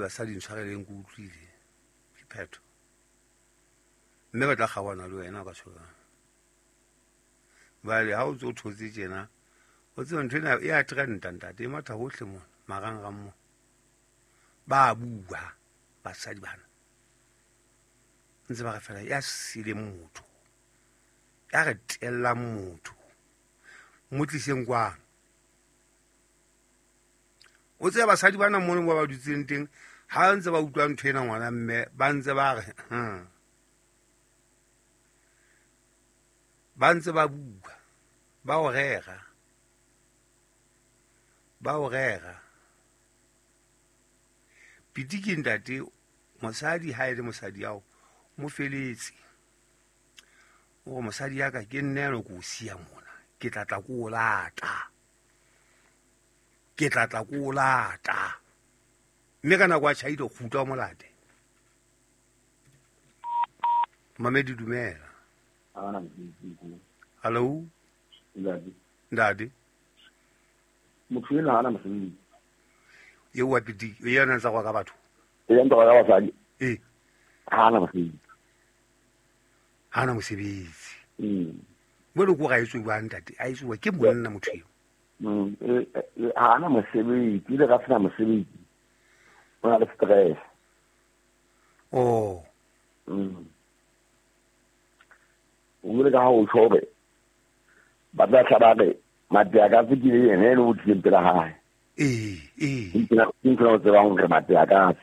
Basadi ntshwareleng ke utlwile ke phetho mme ba tla kgaoana le wena ka tshwara bale ha o ntse o thotse tjena o tseba ntho ena e a trenda ntate e matha hohle mona marangrang mo ba bua basadi bana ntse ba re fela ya sileng motho ya re tellang motho mo tliseng kwano. O tseba basadi bana mono ba ba dutseng teng ha ntse ba utlwa ntho ena ngwana mme ba ntse ba re ba ntse ba bua ba o rera ba o rera. Piti ke ntate mosadi ha e le mosadi yao mo feletse o re mosadi ya ka ke nne eno ke o siya mona ke tla tla ko o lata ke tla tla ko o lata mme ka nako a tjhaile kgutla o molate. Mamedi dumela. Hallo ntate motho ena hana mosebetsi eo wa piti yena ntsa go ka batho e ntse go ka basadi e hana mosebetsi hana mosebetsi mo le ko ga etswe bua ntate a etswe ke monna motho eo hana mosebetsi ile ga sena mosebetsi o na le stress. Oh o ile ka ha o tshore ba tla tla ba re Matiakatse ke yena ene o tlileng pela hae. Ee ee ke ntho o tsebang hore Matiakatse.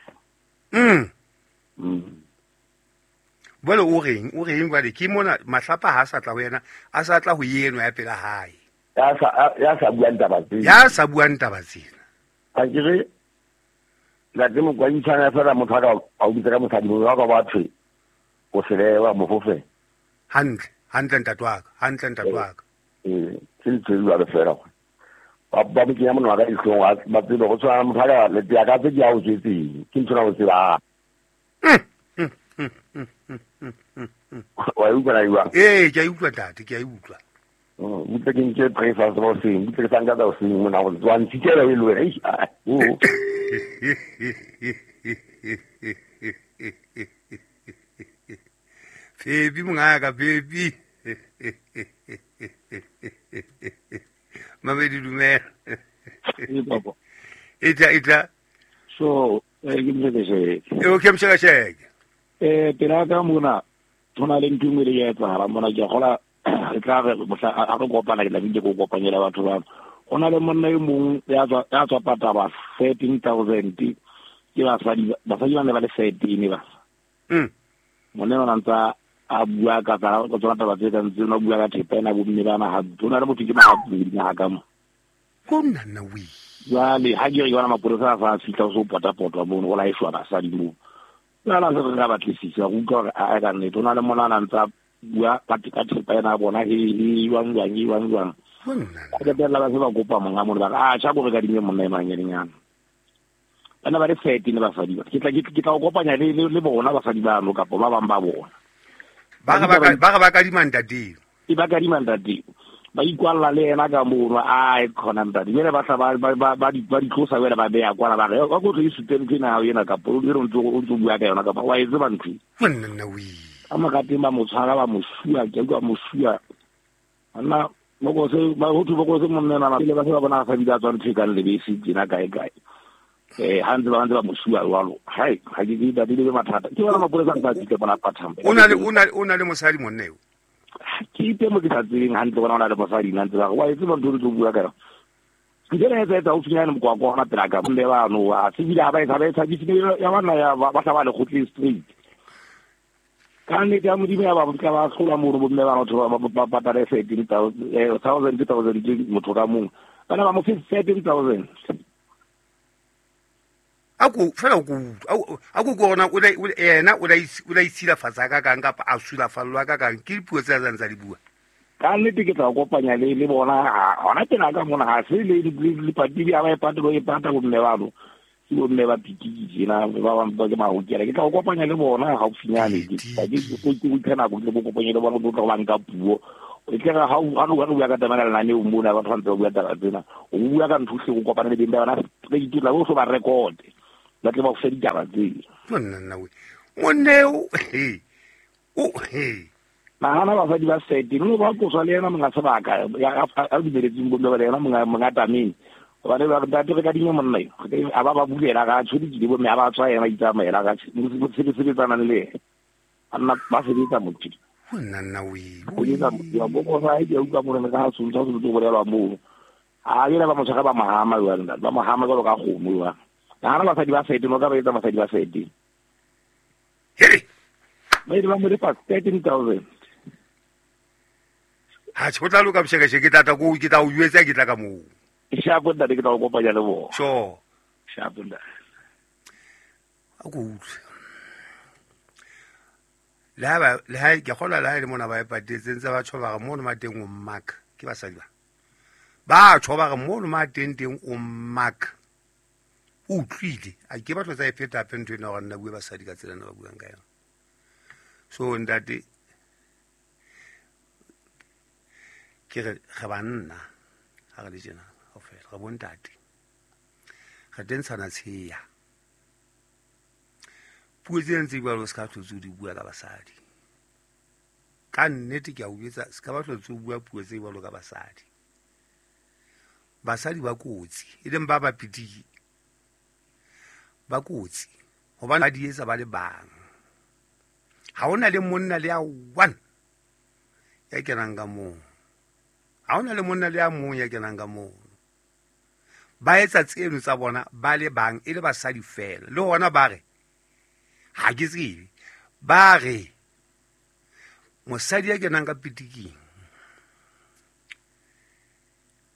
Jwale o reng jwale ke mona mahlapa ha sa tla ho yena a sa tla ho yeno ya pela hae. Ya sa buang taba tsena. Ya sa buang taba tsena. Ha ke re la ke mo kwantshana fela motho a ka o bitsa ka mosadi mo wa ka batho o selewa mofofe. Hantle, hantle ntate wa ka, hantle ntate wa ka. Ke ntse jwalo fela go. Ba mo kenya monwana ka dihlong ba tsebe go tshwana motho a ka le ya ka tse di a o tswetseng ke ntho na o tseba. Wa utlwa na jwang? Ee, ke a utlwa ntate, ke a utlwa. Butle ke nke breakfast ba hoseng, butle ke sa nka tsa hoseng mona go tswa ntshitela e le wena. Oh. Baby mongaka baby. Mamedi dumela. Papa. Ita. So, ke mshekesheke. E ke mshekesheke. Pela ka mona thona le ntho engwe le ya etsahala mona ke gola re tla re mohla a re kopana ke tla ke go kopanyela batho ba. Go na le monna e mong ya tswa pataba 13,000 ke basadi ba ne ba le 13 ba. Monna ona ntsa a bua ka tsa tsona taba tse kang tsena bua ka thepa ena bomme bana ha tsona le motho ke mahapu di ha ka mo. Ko nna we. Jwale ha ke re yona mapolesa a sa fihla so pota-potwa mono go laeshwa basadi mo. Jwale se re ka batlisisa go utlwa hore a ka nnete o na le monna a ntsa bua ka thepa ena bona he jwang jwang. Ba qetella ba se ba kopa monga mono ba re a tjha ko re kadime monna e manyenyana. Bana ba le 13 basadi ba. Ke tla o kopanya le bona basadi bano kapa ba bang ba bona. Ba re ba kadima ntate. E ba kadima ntate. Ba ikwalla le yena ka mono a e khona ntate. Jwale ba tla ba di tlosa wena ba beya kwana ba re wa go tlo isupe ntho ena ya ena kapa o ntse o bua ka yona kapa wa e tseba ntho. Monna we. Ka mokateng ba mo tshwara ba mo sua ke utlwa mo sua. Nna bokose ba ho thwe bokose monna na le ba se ba bona sa bida tswa ntho e kang lebese tjena kae kae. Ha ntse ba mo sua jwalo. Hai, ha ke ke ba le mathata. Ke bona mapolesa a ntse a fihle bona pathang. O na le mosadi monna eo. Ke itse mo ke sa tsebeng hantle bona o na le mosadi nna ntse ba re wa e tseba ntho o tlo bua ka yona. Ke tsena etsa haufinyane mokwakwa hona pela ka mme bano a se bile ha ba e tshabise ya bana ya ba tla ba le kgotleng straight. Ka nnete ya Modimo ya ba tla ba hlola mono bomme bana batho ba patale 13,000 1,000 motho ka mong. Bana ba mo fe 13,000. Ako fela go a go gona o ena o la itshilafatsa ka kang kapa a sulafallwa ka kang ke dipuo tse a ntsa di bua. Ka nnete ke tla kopanya le bona hona tena ka mona ha se le le ya ba e patelo e pata bomme bano. Ke bomme ba pitiki tjena ba bang ba ke mahokela ke tla kopanya le bona haufinyane ke ke tsena go le kopanya le bona go tla ba nka puo. E tle ha o bua ka taba ya lenaneo mona batho ba ntse ba bua taba tsena o bua ka ntho go kopana le beng ba bona re itula go so ba record. Ba tle ba go fe ditaba tseo. Monna nna we. Monna he. O he. Nahana basadi ba sete no ba qoswa le yena monga sebaka a dumeletseng bomme ba le yena monga tameng. Hobane ba ntate re ka dinye monna eo. A ba ba bulela ga tshwedikile bomme a ba tswa yena itsamaela ga sebetsanang le yena. Anna ba sebetsa motho. Monna nna we. O etsa ya boko sa e ke utlwa morena ka tshwantsa se tlo bolelwa moo. A yena ba motshwara ba mahama jwale ntate. Ba mahama jwalo ka kgomo jwale. Nahana basadi ba sete no ka ba etsa basadi ba sete. Hey. Ba ile ba mo lefa 13,000. Ha tjho tla loka boshekeshe ke tla ko ke tla o jwetsa ke tla ka moo. Shapo ntate ke tla o kopanya le bona. Sure. Shapo ntate. A go utlwe. Le ha ke kgola le ha le mona ba e patetse ntse ba tjho ba re mono mateng o mmaka ke basadi ba. Ba tjho ba re mono mateng teng o mmaka. O utlwile a ke batlo tsa e feta hape ntho ena hore nna bue basadi ka tsela ena ba buang ka yona. So ntate ke re re banna ha re le tjena kaofela re bontate re tentshana tsheya puo tse ntse jwalo se ka tlotse o di bua ka basadi ka nnete ke a o jwetsa se ka ba tlotse o bua puo tse jwalo ka basadi. Basadi ba kotsi e leng ba bapitiki ba kotsi hobane ba di etsa ba le bang. Ha hona le monna le ya one ya kenang ka moo. Ha hona le monna le ya mong ya kenang ka moo. Ba etsa tseno tsa bona ba le bang e le basadi fela. Le hona ba re ha ke tsebe ba re mosadi ya kenang ka pitiking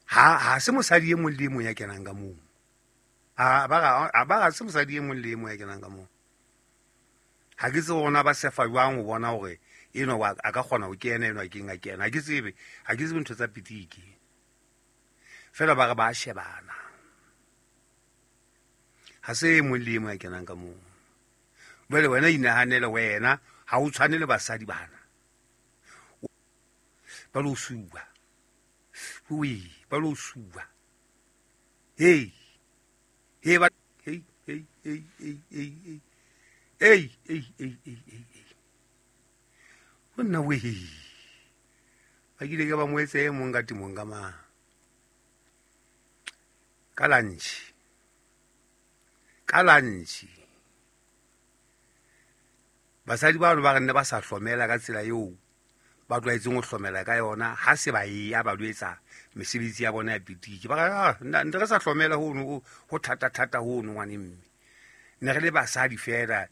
ha se mosadi e mong le e mong ya kenang ka moo. A ba se mosadi e mong le e mong ya kenang ka moo. Ha ke tsebe hore ba sefa jwang ho bona hore eno a ka kgona ho kena eno a keng a kena. Ha ke tsebe ntho tsa pitiki. Fela ba re ba shebana. Ha se e mong le e mong ya kenang ka moo. Jwale wena inahanele wena ha o tshwane le basadi bana. Ba lo suwa. Ui, ba lo suwa. Hey. Hey ba hey hey hey hey hey hey. Ei ei ei ei ei ei. Monna we. Ba kile ka ba mo etse e mong ka timong ka mang. Ka lunch. Ka lunch. Basadi ba ba re nne ba sa hlomela ka tsela eo ba tlwaetseng ho hlomela ka yona ha se ba ya ba lo etsa mesebetsi ya bona ya pitiki. Ba re nne re sa hlomela hono ho thata thata hono ngwane mme. Ne re le basadi fela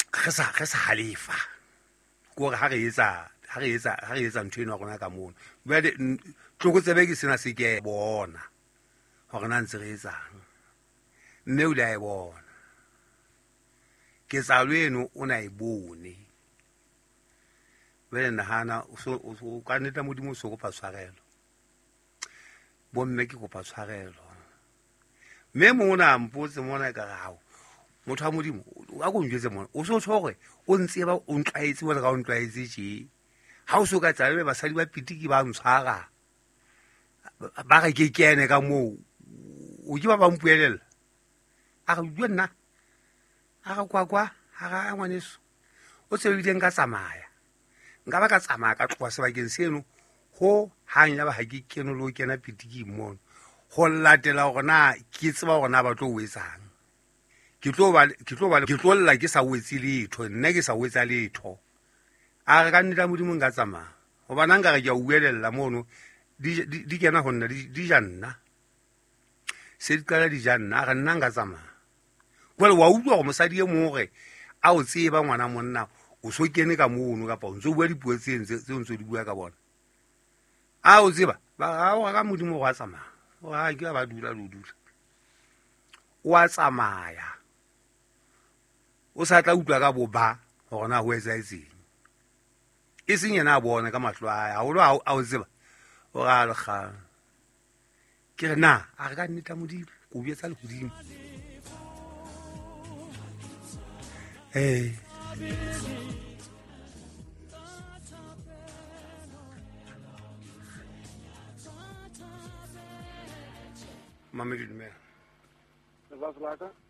re sa halefa. Ke hore ha re etsa ntho eno ya rona ka mono. Jwale tlokotsebe ke sena se ke bona hore na ntse re etsang. Mme o ile a e bona. Ketsahalo eno o na e bone. Jwale nahana o ka nnete Modimo o so kopa tshwarelo. Bomme ke kopa tshwarelo. Mme mona mpotse mona ka re hao motho wa Modimo a ko njwetse mona o so tshwere o ntseba o ntlwaetse wena ka o ntlwaetse tje. Ha o so ka tsabe basadi ba pitiki ba ntshwara ba re ke kene ka moo o ke ba ba mpuelela. A re bua nna a re kwa kwa a re ngwaneso o tsebile nka tsamaya nka ba ka tsamaya ka tloha sebakeng seno ho hang ya ba ha ke kene lo kena pitiki mono ho latela hore na ke tseba hore na ba tlo o etsang. Ke tlo lla ke sa o etse letho nna ke sa o etsa letho. A re ka nnete Modimo nka tsamaya hobane nka re ke a uelella mono di kena ho nna di ja nna se di qala di ja nna a re nna nka tsamaya. Jwale wa utlwa hore mosadi e mong hore a o tseba ngwana monna o so kene ka mono kapa o ntso bua dipuo tse ntse di bua ka bona. A o tseba ba o ka Modimo go a tsamaya. O ha ke ba dula lo dula. O a tsamaya. O sa tla utlwa ka boba hore na ho etsahetseng. E seng yena a bona ka mahlo a hae haholo a o tseba. O ra le kgang. Ke re na a re ka nnete Modimo ko bua tsa lehodimo. Hey. Mamedi dumela. la ka.